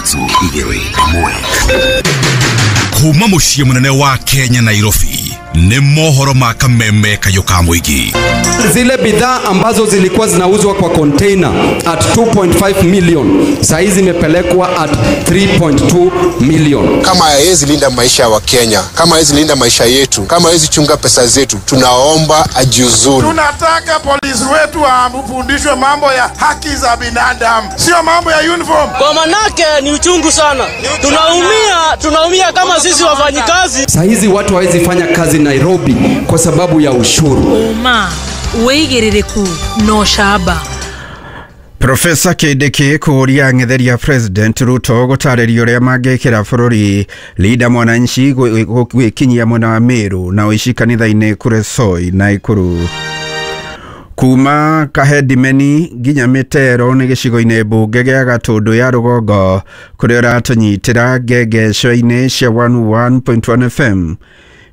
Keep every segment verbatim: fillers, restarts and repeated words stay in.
Ithatũ igĩrĩ ĩmwe. Kuma mũciĩ mũnene wa Kenya, Nairobi, nĩ mohoro ma kameme kayũ ka mũingĩ. Zile bidhaa ambazo zilikuwa zinauzwa kwa container at two point five million, saa hizi zimepelekwa at three point two million. Kama hawezi linda maisha ya Wakenya, kama hawezi linda maisha yetu, kama hawezi chunga pesa zetu, tunaomba ajiuzulu. Tunataka polisi wetu wafundishwe mambo ya haki za binadamu, sio mambo ya uniform. Kwa manake ni uchungu sana, tunaumia, tunaumia kama sisi wafanyikazi. Saa hizi watu hawezi fanya kazi Nairobi kwa sababu ya ushuru. Ũma, wĩigĩrĩrĩku na ũcamba. Profesa Kindiki kũũria ang'etheria President Ruto gũtarĩria ũrĩa mangĩkĩra bũrũri. Linda Mwananchi gwĩkinyia mwena wa Meru na ũici kanitha-inĩ Kuresoi na Ikuru. Kuma Kahedimeni nginya Mĩtero nĩ gĩcigo-inĩ mbunge gĩa Gatũndũ ya rũgongo, kũrĩa ũratũnyitĩra ngengeco-inĩ cia one oh one point one F M.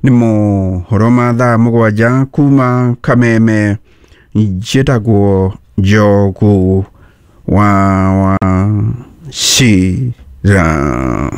Nĩ mohoro ma thaa mũgwanja kuma Kameme. Njĩtagwo Njogu wa Wachira.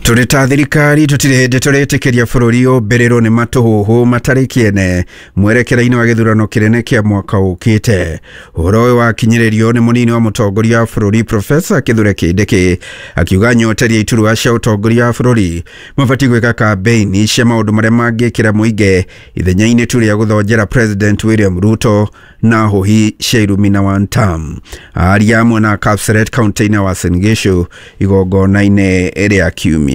Tũrĩ ta thirikari tũtirĩ hĩndĩ tũrĩtĩkĩria bũrũri ũmbĩrĩrwo nĩ matũhũhũ matarĩ kĩene mwerekera-inĩ wa gĩthurano kĩnene kĩa mwaka ũkĩte. Ũhoro ũyũ wakinyĩrĩrio nĩ mũnini wa mũtongoria wa bũrũri, Profesa Kithure Kindiki, akiuga nyoteria iturwa cia ũtongoria wa bũrũri mabatiĩ gwĩka kambeini cia maũndũ marĩa mangĩkĩra mũingĩ ithenya-inĩ tu rĩa gũthonjera President William Ruto na hũhi cia irumi na one term. Aria mwena Kapseret, kaunti-inĩ ya Uasin Gishu, igongona-inĩ rĩa kiumia.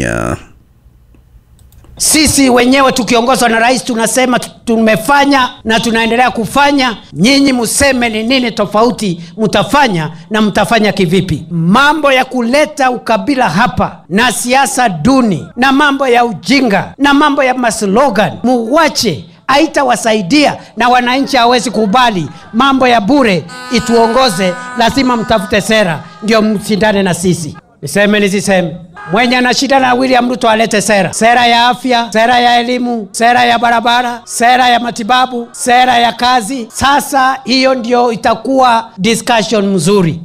Sisi wenyewe tukiongozwa na rais tunasema tumefanya na tunaendelea kufanya. Nyinyi museme ni nini tofauti mtafanya na mtafanya kivipi? Mambo ya kuleta ukabila hapa na siasa duni na mambo ya ujinga na mambo ya maslogan muwache, haitawasaidia na wananchi hawezi kubali mambo ya bure ituongoze. Lazima mtafute sera ndio mshindane na sisi. Niseme nisiseme? Mwenye ana shida na William Ruto alete sera, sera ya afya, sera ya elimu, sera ya barabara, sera ya matibabu, sera ya kazi. Sasa hiyo ndio itakuwa discussion mzuri.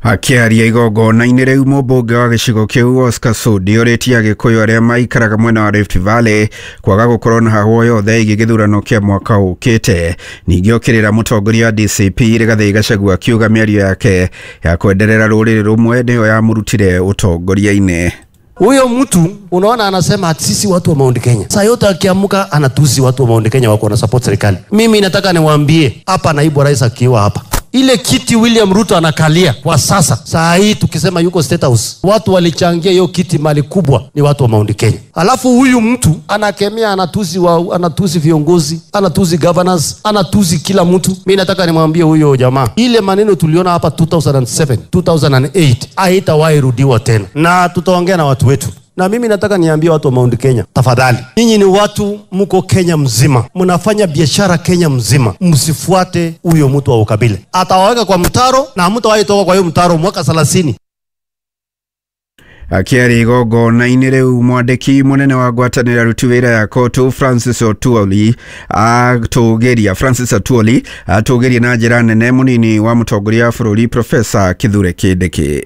Akĩaria igongona-inĩ rĩu, mũmbunge wa gĩcigo kĩu Oscar Sudi ũrĩtie Agĩkũyũ arĩa maikaraga mwena wa Rift Valley kwaga gũkorwo na hahũ yothe ĩgiĩ gĩthurano kĩa mwaka ũkĩte. Ningĩ okĩrĩra mũtongoria wa D C P Rigathĩ Gachagua, akiuga mĩario yake ya kwenderera rũrĩrĩ rũmwe nĩyo yamũrutire ũtongoria-inĩ. Huyo mtu unaona anasema ati sisi watu wa Mount Kenya. Saa yote akiamka anatusi watu wa Mount Kenya wako na support serikali. Mimi nataka niwaambie hapa, naibu wa rais akiwa hapa, ile kiti William Ruto anakalia kwa sasa, saa hii tukisema yuko State House, watu walichangia hiyo kiti mali kubwa ni watu wa Mount Kenya. Alafu huyu mtu anakemea, anatusi wa, anatusi viongozi, anatusi governors, anatusi kila mtu. Mimi nataka nimwambie huyo jamaa, ile maneno tuliona hapa two thousand seven, two thousand eight haitawahi rudiwa tena, na tutaongea na watu wetu. Na mimi nataka niambie watu wa Mount Kenya, tafadhali, nyinyi ni watu mko Kenya mzima, mnafanya biashara Kenya mzima, msifuate huyo mtu wa ukabila. Atawaweka kwa mtaro na hamtawahi toka kwa hiyo mtaro mwaka thelathini. Akĩaria igongona-inĩ rĩu, mwandĩki mũnene wa ngwatanĩro ya aruti wĩra ya COTU, Francis Atwoli, atũgĩria Francis Atwoli atũgĩria na njĩra nene mũnini wa mũtongoria wa bũrũri, Profesa Kithure Kindiki.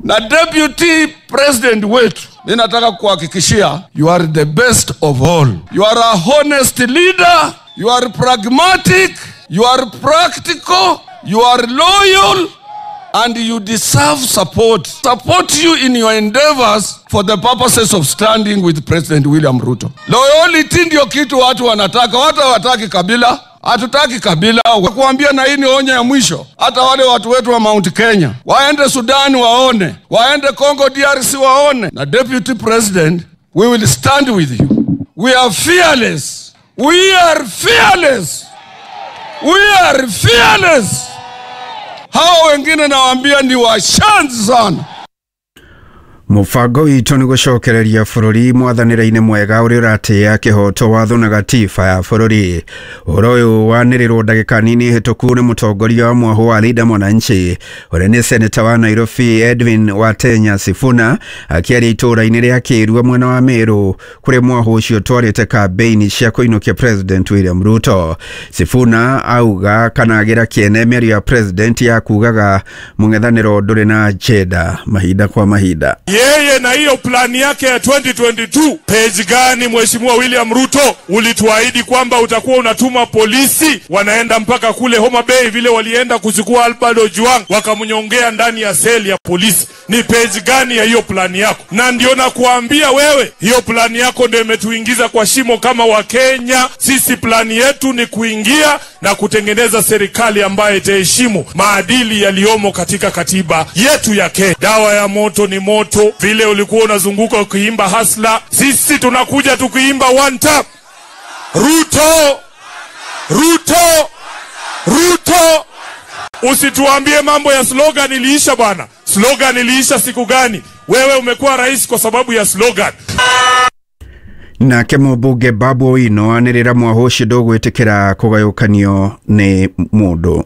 Na deputy president wetu, mi nataka kuhakikishia you are the best of all. You are a honest leader, you are pragmatic, you are practical, you are loyal and you deserve support. Support you in your endeavors for the purposes of standing with President William Ruto. Loyalty ndio kitu watu wanataka, watu hawataki kabila. Hatutaki kabila. Kuambia na hii ni onyo ya mwisho. Hata wale watu wetu wa Mount Kenya waende Sudan waone, waende Congo D R C waone. Na deputy president, we will stand with you. We are fearless. We are fearless. We are fearless. Hao wengine nawaambia ni washenzi sana. Mũbango witũ nĩ gũcokereria bũrũri mwathanĩre-inĩ mwega ũrĩa ũratĩĩa kĩhoto, watho na gatiba ya bũrũri. Ũhoro ũyũ wanĩrĩrwo ndagĩka nini hĩtũku nĩ mũtongoria wa mwahũ wa Linda Mwananchi ũrĩa nĩ seneta wa Nairobi Edwin Watenya Sifuna akĩaria itũũra-inĩ rĩa Kĩrua mwena wa Meru kũrĩa mwahũ ũcio ũtwarĩte kambĩini cia kũinũkia President William Ruto. Sifuna auga kana agĩra kĩene mĩario ya President ya kugaga mũng'ethanĩro ndũrĩ na agenda mahinda kwa mahinda. Yeye na hiyo plani yake ya twenty twenty-two, page gani Mheshimiwa William Ruto ulituahidi kwamba utakuwa unatuma polisi wanaenda mpaka kule Homa Bay vile walienda kuchukua Albert Ojwang wakamnyongea ndani ya seli ya polisi? Ni page gani ya hiyo plani yako? Na ndio nakuambia wewe, hiyo plani yako ndio imetuingiza kwa shimo kama Wakenya. Sisi plani yetu ni kuingia na kutengeneza serikali ambayo itaheshimu maadili yaliyomo katika katiba yetu ya Kenya. Dawa ya moto ni moto. Vile ulikuwa unazunguka ukiimba hasla, sisi tunakuja tukiimba one tap. Ruto, Ruto, Ruto. Usituambie mambo ya slogan iliisha bwana. Slogan iliisha siku gani? Wewe umekuwa rais kwa sababu ya slogan. Nake mũmbunge Babu Owino anĩrĩra mwahũ ũcio ndũgwĩtĩkĩra kũgayũkanio nĩ mũndũ.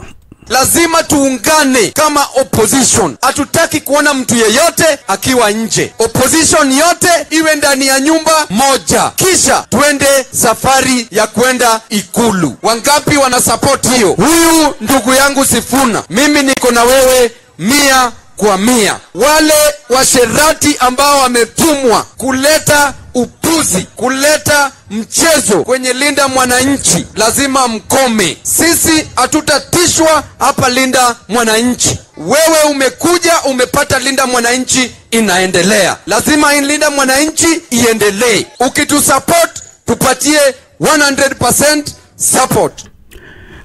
Lazima tuungane kama opposition. Hatutaki kuona mtu yeyote akiwa nje. Opposition yote iwe ndani ya nyumba moja. Kisha tuende safari ya kwenda Ikulu. Wangapi wana support hiyo? Huyu ndugu yangu Sifuna, mimi niko na wewe mia kwa mia. Wale washerati ambao wametumwa kuleta upuzi, kuleta mchezo kwenye Linda Mwananchi, lazima mkome. Sisi hatutatishwa hapa Linda Mwananchi. Wewe umekuja umepata Linda Mwananchi inaendelea. Lazima Linda Mwananchi iendelee. Ukitusupport tupatie one hundred percent support.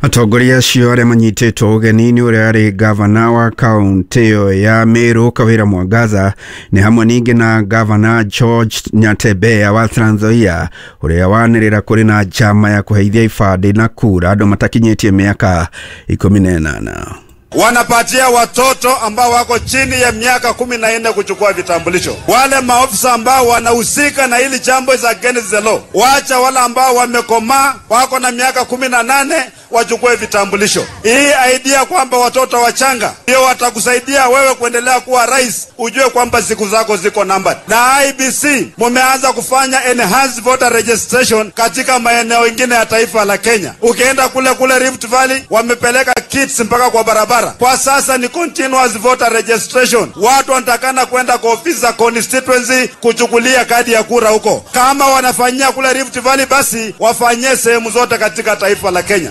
Atongoria acio arĩa manyitĩtwo ũgeni nĩ ũrĩa arĩ gavana wa kaũntĩ ĩyo ya Meru Kawĩra Mwangaza, nĩ hamwe ningĩ na gavana George Nyatebea wa Trans Nzoia ũrĩa wanĩrĩra kũrĩ na njama ya kũheithia ibandĩ na kura andũ matakinyĩtie mĩaka ikũmi na ĩnana. Wanapatia watoto ambao wako chini ya miaka kumi na nne kuchukua vitambulisho. Wale maofisa ambao wanahusika na hili jambo is against the law. Wacha wale ambao wamekomaa wako na miaka kumi na nane wachukue vitambulisho. Hii idea kwamba watoto wachanga ndio watakusaidia wewe kuendelea kuwa rais, ujue kwamba siku zako ziko numbered. Na I B C mumeanza kufanya enhanced voter registration katika maeneo mengine ya taifa la Kenya. Ukienda kule kule Rift Valley wamepeleka kits mpaka kwa barabara. Kwa sasa ni continuous voter registration. Watu wanatakana kwenda kwa ofisi za constituency kuchukulia kadi ya kura huko. Kama wanafanyia kule Rift Valley, basi wafanyie sehemu zote katika taifa la Kenya.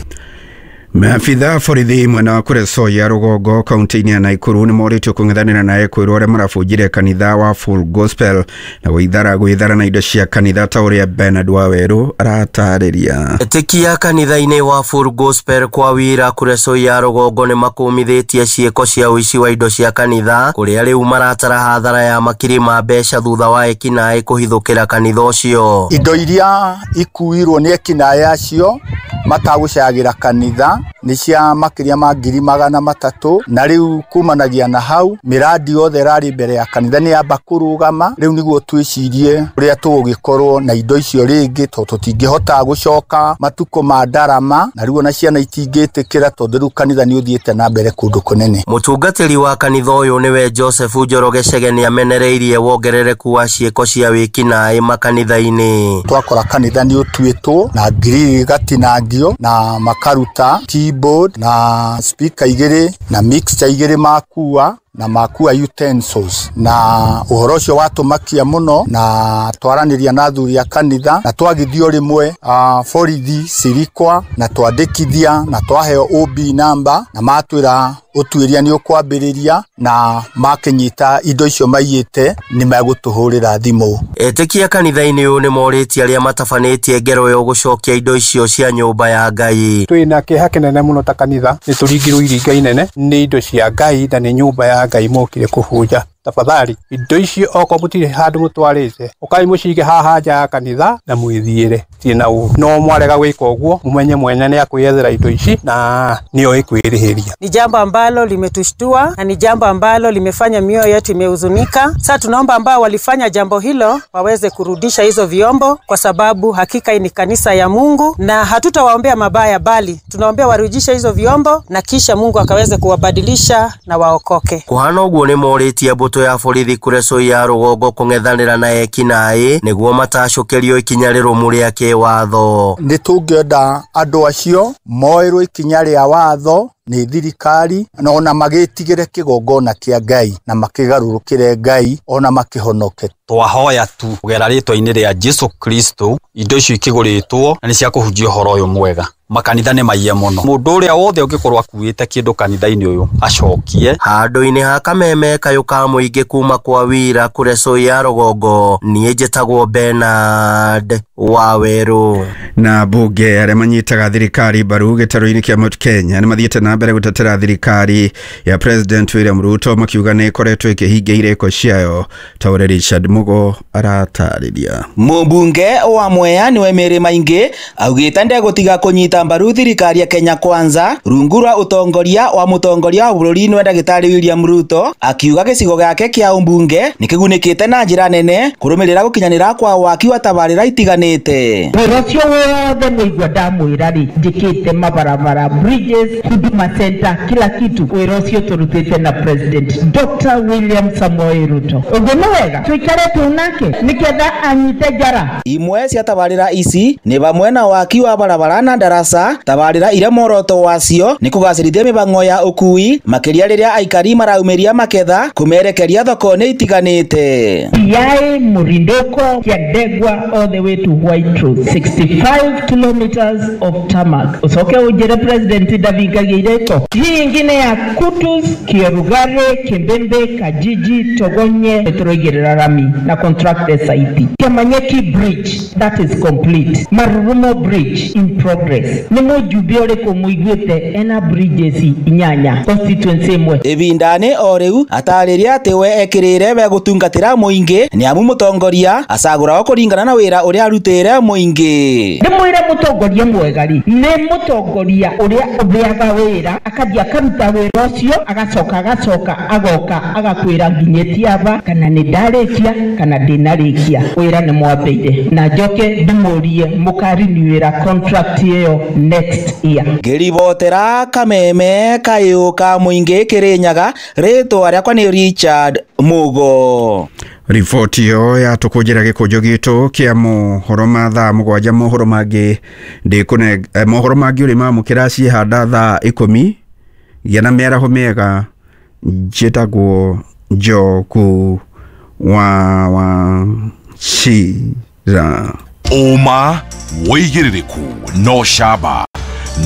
Maabitha borithi mwena wa Kuresoya rũgongo kaunti-inĩ ya Naikuru nĩ morĩtio kũng'ethanĩra na ekwĩrwo arĩa marabunjire kanitha wa Full Gospel na gwĩthara gwĩthara na indo cia kanitha ta ũrĩa Bernard Waweru aratarĩria. Ĩtĩkia kanitha-inĩ wa Full Gospel kwa wira Kuresoya rũgongo nĩ makũmithĩtie ciĩko cia ũici wa indo cia kanitha kũrĩa rĩu maratara hathara ya makiri ma mbeca thutha wa ekinaĩ kũhithũkĩra kanitha ũcio. Indo iria ikuirwo nĩ ekinaĩ acio matagũcagĩra kanitha nĩ cia makĩria ma ngiri magana matatũ, na rĩu kumanagia na hau mĩradi yothe ĩrarĩ mbere ya kanitha nĩ yamba kũrũgama. Rĩu nĩguo twĩcirie ũrĩa tũgũgĩkorwo na indo icio rĩngĩ, tondũ tũtingĩhota gũcoka matukũ ma ndarama, na rĩu ona ciana itingĩtĩkĩra tondũ rĩu kanitha nĩ ũthiĩte na mbere kũndũ kũnene. Mũtungatĩri wa kanitha ũyũ nĩwe Joseph Njoroge Chege nĩamenereirie wongerereku wa ciĩko cia wĩkinaĩ makanitha-inĩ. Twakora kanitha nĩ ũtuĩtwo na ngiri igatinangio na makaruta keyboard na speaker igĩrĩ na mixer igĩrĩ makua na makua utensils, na ũhoro ũcio watũmakia mũno, na twaranĩria na athuri a kanitha na twagithio rĩmwe uh, borithi cirikwa na twandĩkithia na twaheo O B number na matwĩra ũtuĩria nĩ ũkwambĩrĩria, na makĩnyita indo icio maiyĩte nĩ megũtũhũrĩra thimũ. Etĩkia kanitha-inĩ ũyũ nĩ morĩtie arĩa matabanĩtie ngero ĩyo gũcokia indo icio cia nyũmba ya Ngai. Twĩna kĩeha kĩnene mũno ta kanitha, nĩ tũringirwo iringa inene nĩ indo cia Ngai na nĩ nyũmba ya Ngai mokire kũbunja. Tafadhali indo icio okorwo mũtirĩ handũ mũtwarĩte, ũkai mũcige haha nja ya kanitha na mwĩthiĩre, tirĩ na ũru. No mwarega gwĩka ũguo, mũmenye mwene nĩ akwĩyethera indo ici na nĩoĩ kwĩrĩhĩria. Ni jambo ambalo limetushtua na ni jambo ambalo limefanya mioyo yetu imehuzunika. Sasa tunaomba ambao walifanya jambo hilo waweze kurudisha hizo vyombo, kwa sababu hakika hii ni kanisa ya Mungu na hatutawaombea mabaya, bali tunaombea warudishe hizo vyombo na kisha Mungu akaweze kuwabadilisha na waokoke. Kuhana ũguo nĩ morĩtie mbũtũ ya borithi kũrĩa ya rũgongo kũng'ethanĩra na ekinaĩ nĩguo matacũkĩrio ikinya rĩrũmu rĩa kĩwatho. Nĩ tũngĩenda andũ acio moerwo ikinya rĩa watho nĩ thirikari na ona magĩtigĩre kĩgongona kĩa Ngai na makĩgarũrũkĩre Ngai ona makĩhonoke. Twahoya tu kũgera rĩtwa-inĩ rĩa Jesu Kristo indo icio ikĩgũrĩtwo na nĩ cia kũhunjia ũhoro ũyũ mwega. Makanitha nĩ maiye mũno, mũndũ ũrĩa wothe ũngĩkorwo akuĩte kĩndũ kanitha-inĩ ũyũ acokie. Handũ-inĩ ha kameme kayũ ka mũingĩ kuma kwa wira kũrĩa ya rũgongo, niĩ njĩtagwo Bernard Wawerũ. Na mbunge arĩa manyitaga thirikari mbaru gĩtarũ-inĩ kĩa Mount Kenya nĩ mathiĩte na mbere gũtetera thirikari ya President William Ruto makiuga nĩ ĩkoretwo ĩkĩhingia irĩko ciayo, ta ũrĩa Richard Mugo aratarĩria. Mũmbunge wa Mwea nĩwe Mary Maingi augĩte ndegũtiga kũnyita mbaru thirikari ya Kenya Kwanza rungu rwa ũtongoria wa mũtongoria wa bũrũri nĩwe ndagĩtarĩ William Ruto, akiuga gĩcigo gĩake kĩa ũmbunge nĩkĩgunĩkĩte na njĩra nene kũrũmĩrĩra gũkinyanĩra kwa waki wa tabarĩra itiganĩte. Wĩra ũcio wothe mũigua ndamwĩra rĩ, njĩkĩte mabarabara, bridges, Huduma Center, kila kitu. Wĩra ũcio tũrutĩte na President Doctor William Samoei Ruto. Ũguo nĩ wega tũikare tu nake nĩgetha anyite njara. Imwe cia tabarĩra ici nĩ hamwe na waki wa barabara na darasa, tabarĩra iria muoroto wacio nĩ kũgacĩrithia mĩbango ya ũkui makĩria rĩrĩa aikari maraumĩria maketha kũmerekeria thoko-inĩ itiganĩte. Yai Murindoko Kiandegwa all the way to White Road, sixty-five kilometers of tarmac. Usoke ujere President ndavingagia ireko. Hii ingine ya Kutus, Kierugare, Kimbembe, Kajiji, Togonye, tũroigĩrĩra rami na contract S I P. Kĩamanyeki Bridge, that is complete. Marurumo Bridge in progress. Nĩ mũjumbe ũrĩkũ mũiguĩte ena bridges inyanya constituency ĩmwe? Ĩbindani o rĩu atarĩria atĩ we ekĩrĩre we gũtungatĩra mũingĩ nĩ amu mũtongoria acagũragwo kũringana na wĩra ũrĩa arutĩire mũingĩ. Ndĩmwĩre mũtongoria mwega rĩ, nĩ mũtongoria ũrĩa ũthĩaga wĩra akathiĩ akaruta wĩra ũcio agacoka agacoka agoka agakwĩra nginyĩtie aba kana nĩ ndarĩkia kana ndinarĩkia. Wĩra nĩ mwambĩire na njoke ndĩmũrie mũkariniwĩra contract ĩyo next year. Ngĩribotera kameme kayũ ka mũingĩ Kĩrĩnyaga, rĩtwa rĩakwa nĩ Richard Mugo. Riboti ĩyo yatũkũnjĩra gĩkũnjo gitũ kĩa mohoro ma thaa mũgwanja. Mohoro mangĩ ndĩkũne mohoro mangĩ ũrĩ mamũkĩra ciĩhanda thaa ikũmi. Gĩa na mĩaraho mĩega. Njĩtagwo Njoku wa wa Chira. Ũma wĩigĩrĩrĩku no camba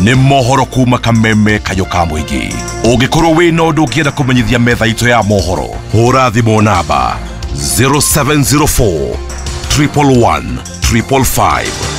nĩ mohoro kuma kameme kayũ ka mũingĩ. Ũngĩkorwo wĩna ũndũ ũngĩenda kũmenyithia metha itũ ya mohoro, hũra thimũ namba zero seven zero four triple one triple five.